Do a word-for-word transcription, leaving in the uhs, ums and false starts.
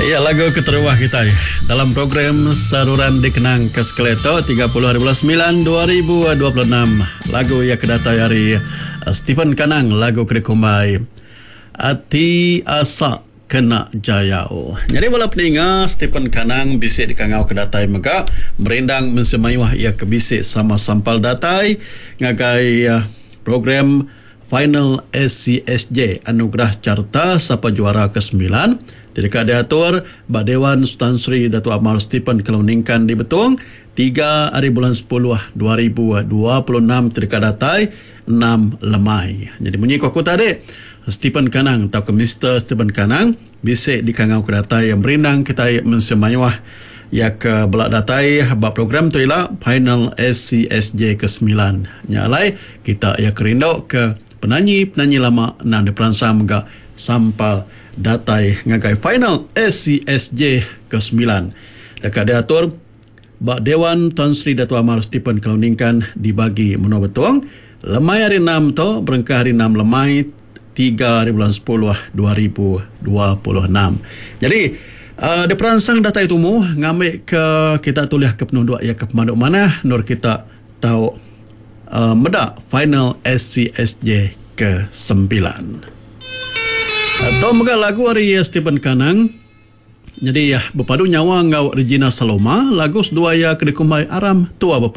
Iya lagu keterubah kitai dalam program Saruran Dikenang ke sekali tu tiga puluh hari bulan semilan dua ribu dua puluh enam. Lagu iya ke datai ari Stephen Kanang, lagu ke dikumbai Ati Asa Kena Jayau. Nyadi bala peninga Stephen Kanang bisi dikangau ke datai mega merindang mensia mayuh iya ke bisi sama sampal datai ngagai program Final S C S J Anugerah Carta Sapa Juara ke sembilan ti deka diatur ba Dewan Sultan Sri Datuk Amar Stephen Kalong Ningkan di Betong tiga hari bulan sepuluh dua ribu dua puluh enam ti deka datai enam lemai. Jadi munyi ku aku tadi, Stephen Kanang tauka Mister Stephen Kanang bisi dikangau ke datai yang merindang kitai mensia mayuh ya ke bela datai ba program tu ila Final S C S J ke sembilan. Nya alai kita ya kerindu ke penanyi-penanyi lama nang diperansang mega sampal datai ngagai Final S C S J ke sembilan. Deka diatur ba Dewan Tan Sri Datuk Amar Stephen Kalong Ningkan di bagi Menua Betong lemai hari enam tu berengkah hari enam lemai tiga hari bulan sepuluh dua ribu dua puluh enam. Jadi uh, diperansang datai tumu ngambil ke kita tulih ke penunduk ya ke pemanduk manah nur kita tau uh, meda Final S C S J ke sembilan. Atau mega lagu ari Stephen Kanang. Jadi ya berpadu nyawa ngau Regina Saloma, lagu sedua ya ke dikumbai Aram Tua Bepa.